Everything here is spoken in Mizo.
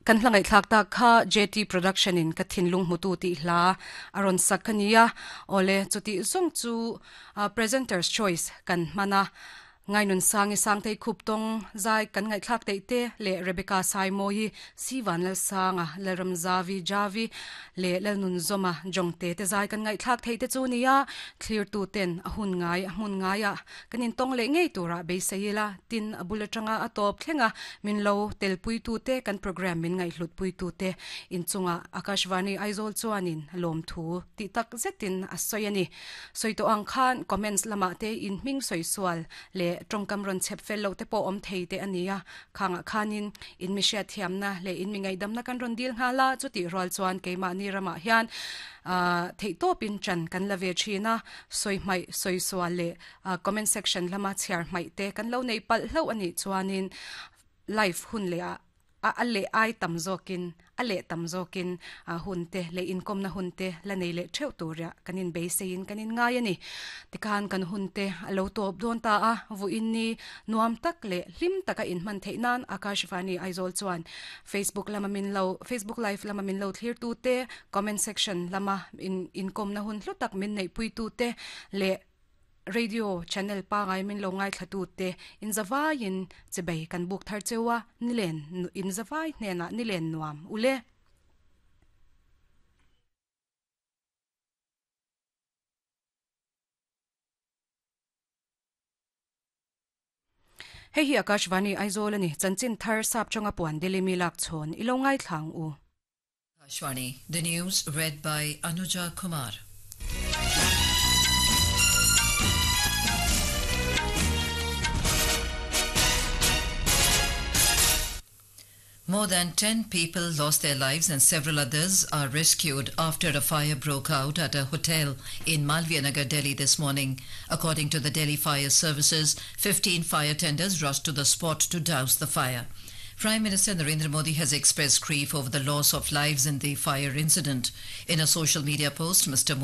Kan hla ngaihthlak tak kha JT Production in ka thinlung hmutu tih hla a rawn sak a nia. Awle, chutih zawng chu Presenter's Choice kan hman a. Ngainun Sangi Sangtei Khup tawng zai kan ngaihthlak teih te leh Rebecca Saimawi, Sivan Lalsanga, Lalramzavi Javi leh Lalnunzawma Jongte te zai kan ngaihthlak theih te chu nia. Thlirtu ten a hun ngai a hmun ngaiah kan intawng leh ngei turah beisei ila, tin a bul atanga a tawp thleng a, min lo telpuitu te kan programme min ngaihhlutpuitu te inchungah Akashvani Aizawl chuanin lawmthu tih tak zetin a sawi a ni. Sawi tawh ang khan comments lamah te in hming sawi sual leh tawngkam rawn chhep fel loh te pawh awm thei te a ni a, khangah khanin in mi hriatthiamna leh in mi ngaihdamna kan rawn dil nghal a, chutih rual chuan keimahni ramah hian theihtawpin chan kan la ve thin a, sawi hmaih sawi sual leh comment section lama chhiar hmaih te kan lo neih palh hlauh a nih chuanin live hun leh ah A a leh ai tam zawkin, a leh tam zawkin hun te leh inkawmna hun te la nei leh theuh turah kan inbeiseiin kan inngai a ni. Tikhan kan hun te a lo tawp dawn ta a, vuiin ni nuam tak leh hlim taka inhman theih nan Akashvani Aizawl chuan Facebook lama min lo Facebook live lama min lo thlirtu te, comment section lama in inkawmna hun hlu tak min neihpuitu te leh Radio channel pangai min lo ngaithla te inzavaiin chibei kan buk thar cheu a, nilen inzavai hnenah nilen nuam ule. Hei hi Akashvani Aizawl a ni, chanchin thar sap chunga puan Delhi mi lak chhawn i lo ngaithla ang u. Akashvani, the news read by Anuja Kumar. More than 10 people lost their lives and several others are rescued after a fire broke out at a hotel in Malviya Nagar, Delhi this morning. According to the Delhi Fire Services, 15 fire tenders rushed to the spot to douse the fire. Prime Minister Narendra Modi has expressed grief over the loss of lives in the fire incident. In a social media post, Mr. Modi